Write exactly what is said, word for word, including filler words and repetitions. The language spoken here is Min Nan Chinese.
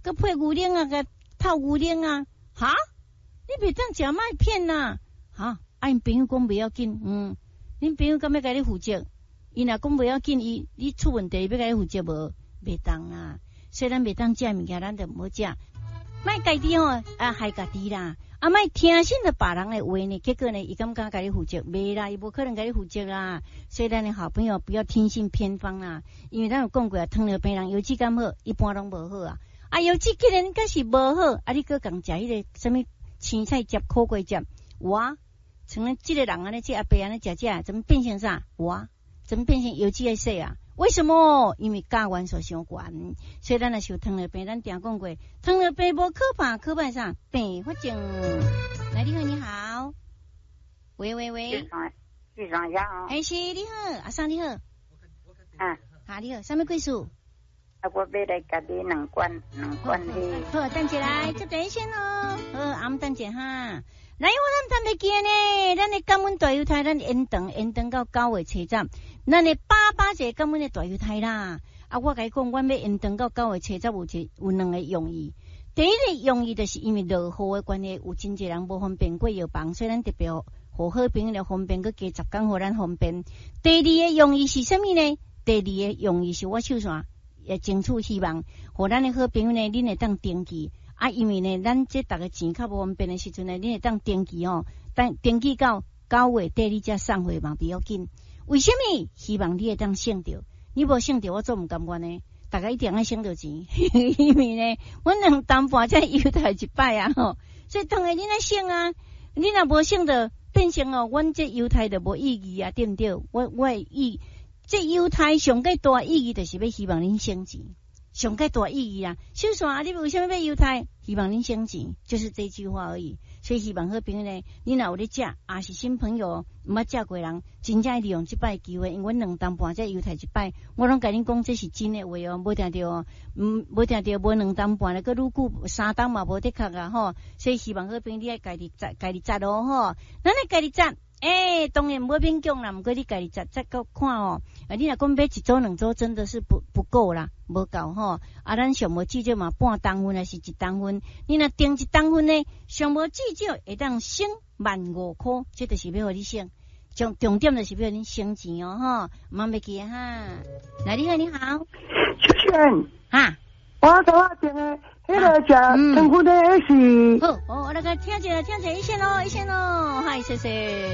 閣配牛奶啊，共透牛奶啊，哈？你袂當食麥片呐？哈？啊，𪜶朋友講袂要緊，嗯，恁朋友敢欲共你負責？伊若講袂要緊，伊你出問題，欲共你負責無？袂當啊！所以咱袂當食物件，咱就毋好食。莫家己吼啊害家己啦！啊，莫聽信著別人的話呢，結果呢，伊敢敢共你負責？袂啦，伊無可能共你負責啦。所以咱的好朋友不要聽信偏方啦，因為咱有講過啊，糖尿病人腰子敢好，一般攏無好啊。啊，腰子既然敢是無好，啊，你閣共食彼个啥物青菜汁、苦瓜汁，哇！像咱這个人按呢，這阿伯按呢食食，怎麼變成啥？哇！怎麼變成腰子愛細啊？為什麼？因為鉀元素傷懸，所以咱若是有糖尿病，咱定講過，糖尿病無可怕，可怕啥？併發症。來，你好，你好。喂喂喂。市長好。欸，是，你好，阿桑你好。啊。哈，你好，啥物貴事？啊，我欲來共你兩罐兩罐的。好，等一下，接電線哦。好，阿姆等一下哈。來，我咱談袂記呢，咱的感恩大猶太，咱延長延長到九月初十，咱的八八節感恩的大猶太啦。啊，我共你講，阮欲延長到九月初十，有一有兩個用意。第一個用意就是因為落雨的關係，有真濟人無方便過藥房，所以咱特別予好朋友來方便，閣加十工予咱方便。第二個用意是啥物呢？第二個用意是我手線也爭取希望，予咱的好朋友呢，恁會當登記。啊，因為呢，咱這逐个錢較無方便的時陣呢，恁會當登記吼，等登記到九月底，你才送貨嘛比較緊。為啥物？希望你會當省著，你無省著，我做毋甘願呢。大家一定愛省著錢，因為呢，阮兩擔半才猶太一擺啊吼，所以當然恁愛省啊，你若無省著，變成哦，阮這猶太就無意義啊，對毋對？我我的意，這猶太上蓋大意義就是欲希望恁省錢。上蓋大意義啊！小線啊，你為啥物欲猶太？希望恁省錢，就是這句話而已。所以希望好朋友呢，你若有咧食，也是新朋友，毋捌食過人，真正利用這擺機會，因為阮兩擔半才猶太一擺，我攏共恁講這是真的話哦，無定著哦，毋無定著無兩擔半咧，閣愈久三擔嘛無的確啊吼。所以希望好朋友你愛家己節，家己節哦吼，咱來家己節。欸，當然毋好勉強啦，毋過你家己節節閣看哦。啊，你若講買一組兩組，真的是不不夠啦，無夠吼。啊，咱上無至少嘛半擔份，還是一擔份。你若訂一擔份呢，上無至少會當省萬五箍，這就是欲予你省。重重點就是欲予恁省錢哦，吼，毋通袂記哈。來，你好，你好。秀萱。哈。我頭仔訂的，彼个食腸粉的彼是。好，哦，我來個聽一下，聽一下，一線咯，一線咯，嗨，謝謝。